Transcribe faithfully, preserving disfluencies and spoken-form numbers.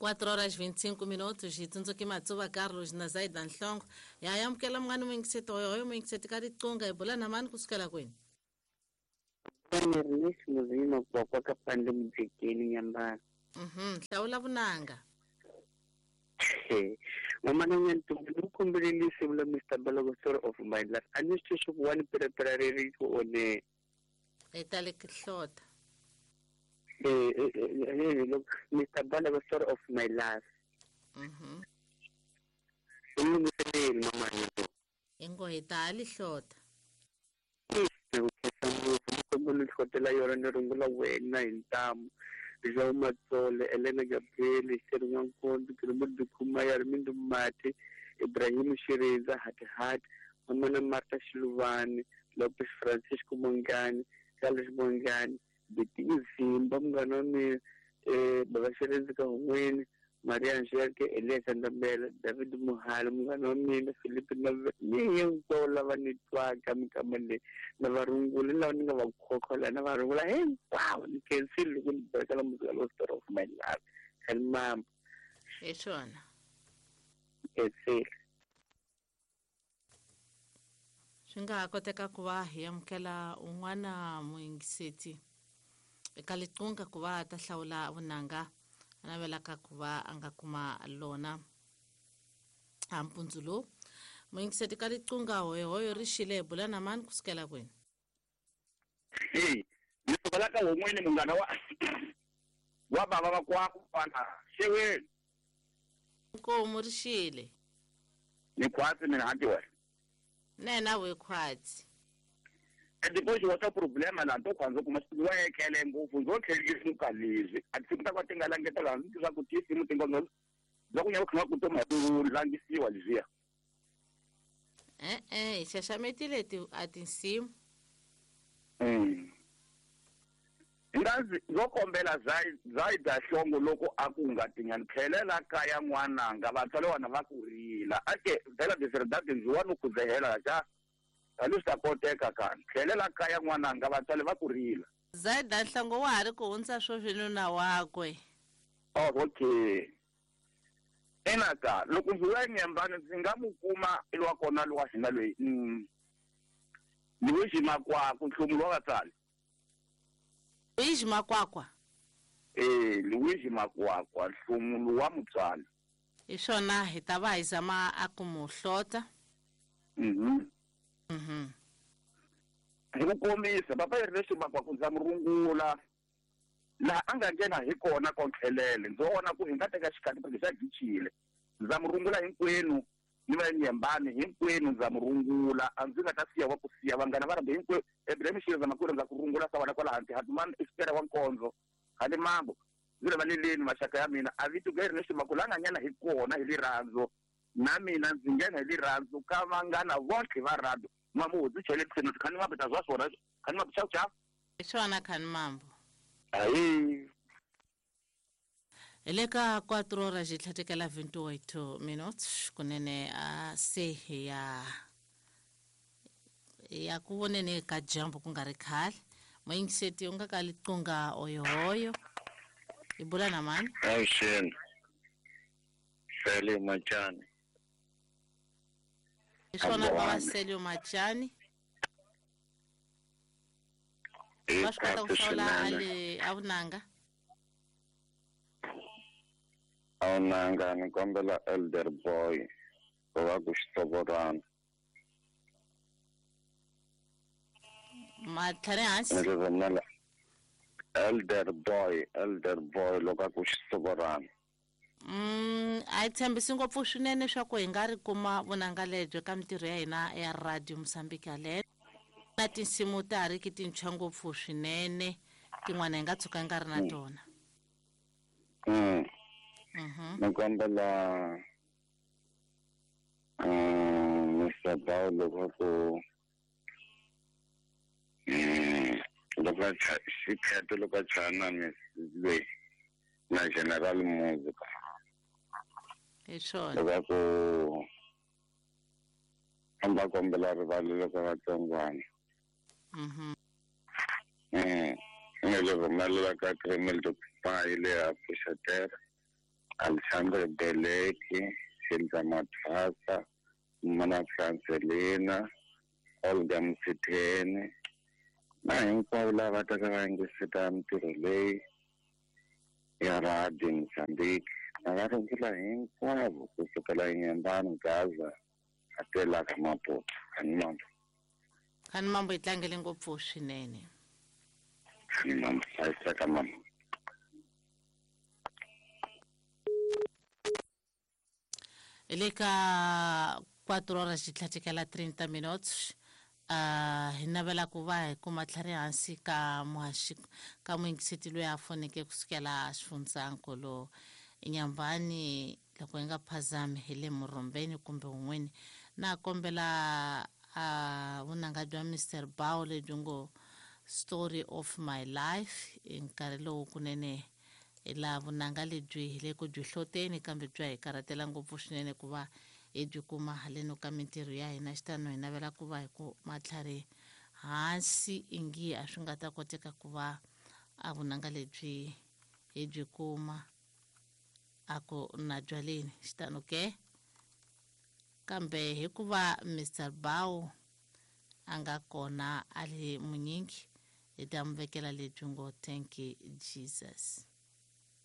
quatro horas vinte e cinco minutos hi tsundzuki Matsuva Carlos na Zaida Nhlongo ya amukela munghana muyingiseti hoyo muyingiseti ka riqingho hi bula na mani kusukela kwini. Mhm hlawula vunanga. Mama Nyantombi ni kombelelise vula Mister Balogo story of my life. A ni swi swi ku one perepera ri ku one etale hlota. Eh eh look Mister Balogo story of my life. Mhm. Ni mama Nyantombi. Ingo etale hlota. Kombela hlotela yona ni rungula wena hi ntamu. João Matsole, Helena Gabriel, Sherman Nkondo, Kirumudu Kumaya, Armindo Mate, Ibrahim Shireza, Hati Hati, Mamana Marta Shiluvani, Lopes Francisco Mongani, Carlos Mongani, Betinho Zimba, Mganoni, eh, Baba Shireza Kahweni, Maria Angelica, Elias Andabela, David Muhalo, Mganoni, Felipe Nave, ni hinkwavo lava ni twaka minkama leyi na va rungula lava ni nga va khokhola na va rungula hinkwavo ni khensile loko ni bekela muzika lowu story of my life khalimamba hi swona khensile. Swi nga ha koteka ku va hi amukela un'wana muyingiseti eka liqunga ku va ta hlawula vunanga a navelaka ku va a nga kuma lona a mpundzu lowu. Muyingiseti ka liqunga hoyohoyo ri xile hi bula na mani kusukela kwini. Hey, ni sukela ka wun'wini munghana wa wa bava va kwaku kwana xeweni. Nkomu ri xile. Ni khwatsi mina hanti wena. Nena we khwatsi. Depois wa ta problema la to kwanza kuma wa ekhele ngopfu ndzo tlhelisa leswi a ti ta ka tinga langetela ndzi swa ku tisi mutingo no loko nya ku ku toma ku langisiwa leswiya. Eh eh hi xaxametile ti a tinsimu. Mm. Ngazi zo kombela zai zai da hlongo loko a ku nga tinyani tlhelela kaya n'wananga vatswari wana va ku rila ake vhela deserdade ndzi wa no ku zehela xa a koteka kan tlhelela kaya n'wananga vatswari va ku rila. Zaida Nhlongo wa ha ri ku hundza sweswi nuna wakwe. Oh okay. Enaka loko ndzi ya nyambani ndzi nga mu kuma lwa kona lwa hina loyi mm Luigi Makwakwa nhlumulo wa vatswari. Luigi Makwakwa. Eh Luigi Makwakwa nhlumulo wa mutswari. Hi swona hi ta va hi zama a ku mu hlota. Mhm. Mhm. Hi ku kombisa papa yi ri leswi Makwakwa ndza mu rungula laha a nga nghena hi kona kontlhelele ndzi vona ku hi nga teka xikati porque xa gichile ndza mu rungula hinkwenu ni va nyembani hinkwenu ndza mu rungula a ndzi nga ta siya wa ku siya vanghana va rambe hinkwenu Ibrahim Shireza makulu ndza ku rungula sa wala kwala hansi Hatumani Espera wa Nkonzo hali mambo ndzi le valeleni maxaka ya mina a vito ga ri leswi Makwakwa la nga nghena hi kona hi rirhandzu na mina ndzi nghena hi rirhandzu ka vanghana vonke va rado mamuzi chele tseno khani mabeta zwa swona khani mabeta cha hi swona khani mambo. Ayi hi le ka quatro horas hi tlhatekela vinte e oito minutos kunene a se ya ya ku voneni ka dyambu ku nga ri khale muyingiseti u nga ka liqunga oyohoyo hi bula na mani. Avuxeni Sele Machani. Hi swona bava Selio Machani. Va swi kota ku hlawula a le a vunanga. A vunanga ni kombela Elder Boy ku va ku xitovorana. Matlhari hansi. Ni rivumela Elder Boy, Elder Boy loko a ku xitovorana. Mm, a yi tshembisi ngopfu swinene swa ku hi nga ri kuma vunanga lebyo ka mintirho ya hina ya Radio Mozambique yaleyo na tinsimu ta ha ri ki tintshwa ngopfu swinene tin'wana hi nga tshuka hi nga ri na tona. Mm. Mhm. Ni kombela um Mister Bao loko ku mm loko a xikheto loko a chana Miss loyi na General Music. Hi swona. Loko ku amba kombela rivalelo ka vatsongwana. Mhm. Mm. Ni le rhumelela ka Kremel to Pai le a Pfuxatera. Alexandre Beleki, Xindza Mathasa, Mana Francelina, Olga Msitheni, na hinkwavo lava taka va yingiseta mintirho leyi ya Radio Mozambique. Na va rungula hinkwavo kusukela eNyembani, Gaza, a tela ka Maputo. Kani mambo. Kani mambo yi tlangele ngopfu swinene. Kani mambo, hlayiseka mama. Hi le ka quatro horas yi tlhatekela trinta minutos. Uh, hi navela ku va hi kuma tlhari hansi ka muhaxi ka muyingiseti loyi a foneke kusukela xifundzankulu Nyambani loko hi nga phazami hi le Murhombeni kumbe wun'weni. Na kombela uh, vunanga bya Mister Bao lebyi ngo Story of My Life hi nkarhi lowu kunene hi laha vunanga lebyi hi le ku byi hloteni kambe bya hi karhatela ngopfu swinene ku va hi byi kuma haleno ka mintirho ya hina. Xitano hi navela ku va hi ku matlhari hansi ingi a swi nga ta koteka ku va a vunanga lebyi hi byi kuma a ku na byaleni xitano ke. Kambe hikuva Mister Bao a nga kona a le munyingi hi ta mu vekela lebyi ngo Thank you Jesus.